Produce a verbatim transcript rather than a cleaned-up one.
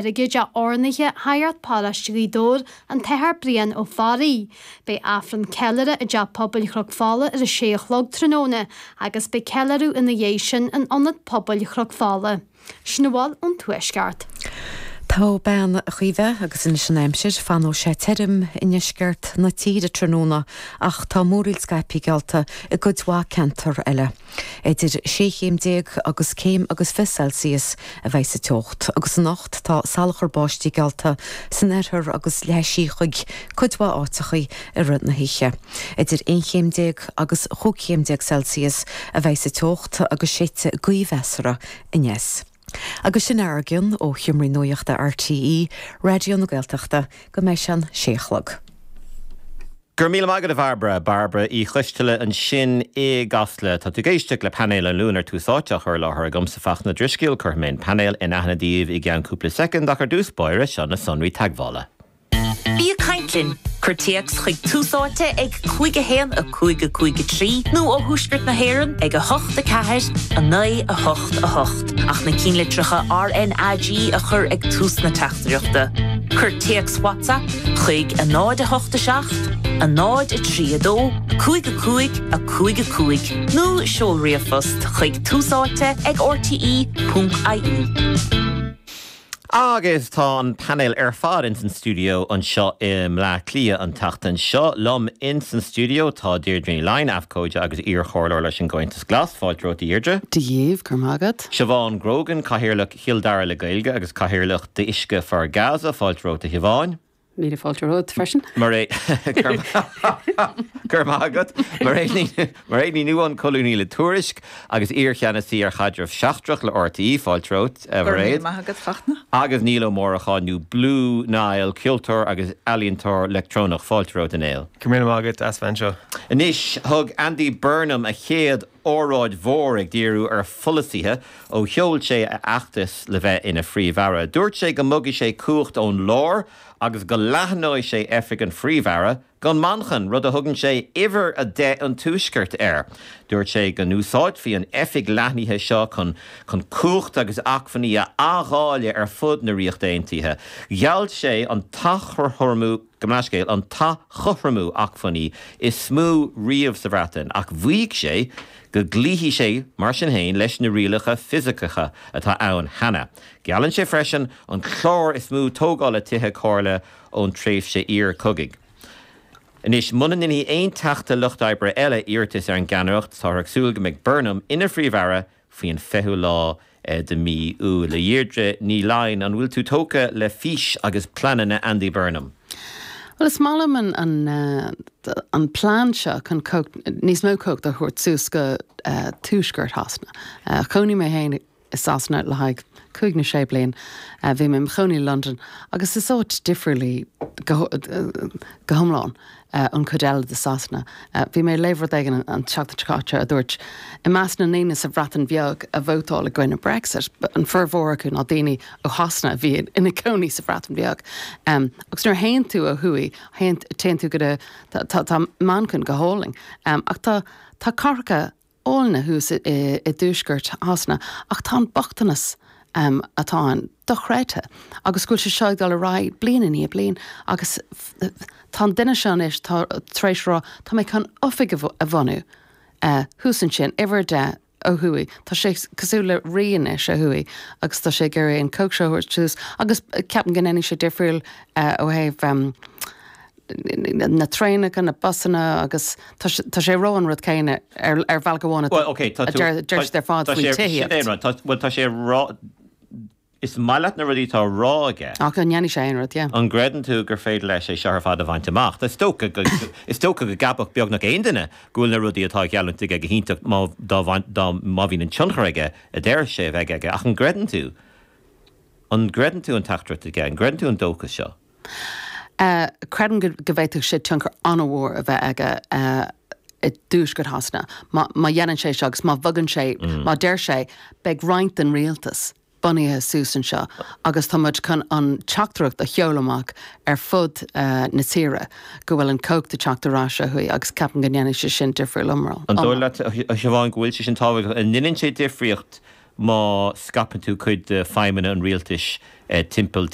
Airgid a urnaithe Shagart Paróiste Ghaoth Dobhair, an tAthair Brian Ó Fearraigh. Beidh Aifreann ceiliúrtha i dTeach Pobail Chnoc Fola ar a sé a chlog tráthnóna agus beidh ceiliúradh ina dhiaidh sin in Ionad Pobail Chnoc Fola. Sin a bhfuil ón Tuaisceart. Tá bean a chuibhe agus anois an aimsir fanfaidh sé tirim i ndeisceart na tíre tráthnóna ach tá múraíl scaipthe geallta i gcuid mhaith ceantar eile. Idir sé chéim déag agus céim agus fiche Celsius a bheidh sa teocht, agus anocht tá salachar báistí geallta san oirthear agus leathfaidh sí chuig cuid mhaith áiteachaí i rith na hoíche. Idir aon chéim déag agus chúig chéim déag Celsius a bheidh sa teocht agus séidfidh gaoth mheasartha aneas. Agus sin ár gcionn ó Sheomraí Nuachta RTÉ, Raidió na Gaeltachta, go mbeidh sé an sé a chlog. Gur míle maith agat a Bhairbre Bairbre Uí Choisteala ansin i gCasla Tá tú ag éisteacht le painéal an Luain ar Tús Áite á chur i láthair agamsa Fachtna Ó Drisceoil cuirfidh mé an painéal in aithne daoibh i gceann cúpla soicind ach ar dtús báire seo na sonraí teagmhála. Bí ag caint linn. Cuir téacs chuig Tús Áite ag cúig a haon a cúig a cúig a trí nó ó Thuaisceart na hÉireann ag a hocht a ceathair a naoi a hocht a hocht ach na cinnlitreacha RNAG a chur ag tús na teachtaireachta. Cuir téacs WhatsApp chuig a náid a hocht a seacht, a náid a trí a dó, cúig a cúig a cúig a cúig nó seol ríomhphost chuig túsáite ag rte ponc ie. Agus tá an painéal ar fad ins an studio anseo i mBleá Cliath an tseachtain seo. Liom ins an studio tá Deirdre Ní Laighin, abhcóide agus iarchomhairleoir leis an gComhaontas Glas, fáilte romhat a Dheirdre. Dia dhaoibh, go raibh maith agat. Siobhán Grogan, Cathaoirleach Chill Dara le Gaeilge agus Cathaoirleach d'Uisce for Gaza, fáilte romhat a Shiobháin. Míle fáilte romhat freisin. Mar é gur agat mar é ní nuán colúnaí le Tuairisc agus iarcheannasaí ar chaidreamh seachtrach le RTÉ fáilte romhat Mairéad. Maith agat Fachtna. Agus Niall Ó Móracha nó Blue Niall ceoltóir agus ealaíontóir leictreonach fáilte romhat a Néill. Go raibh maith agat as bheith anseo. Anois thug Andy Burnham a chéad óráid mhór ag díriú ar pholasaithe ó sheol sé a fheachtas le bheith ina phríomh-aire. Dúirt sé go mbogfaidh sé cumhacht ón lár agus go leathnóidh sé oifig an phríomh-aire go Manchain, rud a thugann sé uimhir a deich an tuaiscirt air. Dúirt sé go n-úsáidfí an oifig leathnaithe seo chun chun cumhacht agus acmhainní a athdháileadh ar fud na Ríochta Aontaithe. Gheall sé an t-athchothromú gabh mo leithscéal an t-athchothromú acmhainní is mó riamh sa Bhreatain ach mhaígh sé go gcloífidh sé mar sin féin leis na rialacha fisiceacha atá ann cheana. Geallann sé freisin an clár is mó tógála tithe comhairle ón tréimhse iarchogaidh. Anois muna ndéanfaidh aon teachta lucht oibre eile iarratas ar an gceannaireacht táthar ag súil go mbeidh Burnham ina phríomh-aire faoin fichiú lá de mí Iúil. A Dheirdre Ní Laighin an bhfuil tú tógtha le fís agus pleananna Andy Burnham. Well is maith liom an, an, uh, an plean seo chun níos mó cumhacht a thabhairt suas go uh, tuaisceart Shasana. Uh, Chónaigh mé féin i Sasana le haghaidh cúig nó sé bliain uh, bhí mé i mo chónaí i London agus is áit difriúil í go, go hiomlán uh, an chuid eile de Sasana. Uh, bhí mé ag léamh rud éigin an tseachtain seo caite a dúirt i measc na ndaoine sa Bhreatain Bheag a vótáil i gcoinne Brexit, an formhór acu ná daoine ó Shasana a bhí ina gcónaí sa Bhreatain Bheag. Um, agus nuair a théann tú ó thuaidh téann tú go tá tá Manchain go hálainn. Um, ach tá tá cathracha áille thuas i dtuaisceart Shasana ach tá an bochtanas um, atá ann dochreidte agus go bhfuil sé seo ag dul ar aghaidh bliain i ndiaidh bliain agus tá an duine seo anois tá tar éis rá tá mé chun oifig a bhunú uh, thuas ansin uimhir a deich ó thuaidh Tá sé cosúil le rí anois ó thuaidh agus tá sé ag iarraidh an chumhacht seo suas agus ceapaim go ndéanfaidh sé difriúil uh, ó thaobh um, na traenacha na busanna agus tá sé rá an rud céanna ar ar bhealach amháin deir ar fad faoi tithíocht. Well tá sé rá Is maith leat na rudaí atá á rá aige. Ach an ndéanfaidh sé aon rud, yeah. An gcreideann tú gur féidir leis é seo ar fad a bhaint amach? Is dócha go is dócha go gceapfadh beagnach aon duine go bhfuil na rudaí atá á gheallúint aige go hiontach má dá dá má bhíonn an tionchar aige a deir sé a bheidh aige ach an gcreideann tú an gcreideann tú an teachtaireacht aige, an gcreideann tú an dóchas seo? Uh, creidim go go bhféadfadh sé tionchar an-mhór a bheith aige uh, i dtuaisceart Shasana. Má, má dhéanann sé seo agus má bhogann sé, mm. má deir sé beidh roinnt den rialtas bunaithe suas anseo agus tá muid chun an teachtaireacht a sheoladh amach ar fud uh, na tíre go bhfuil an chumhacht ag teacht ar ais ó thuaidh agus ceapaim go ndéanfaidh sé sin difriúil iomlán. An dóigh leat a Siobhán go bhfuil sé sin tábhachtach an ndéanann sé difríocht má scaipeann tú cuid de feidhmeanna an rialtais eh, timpeall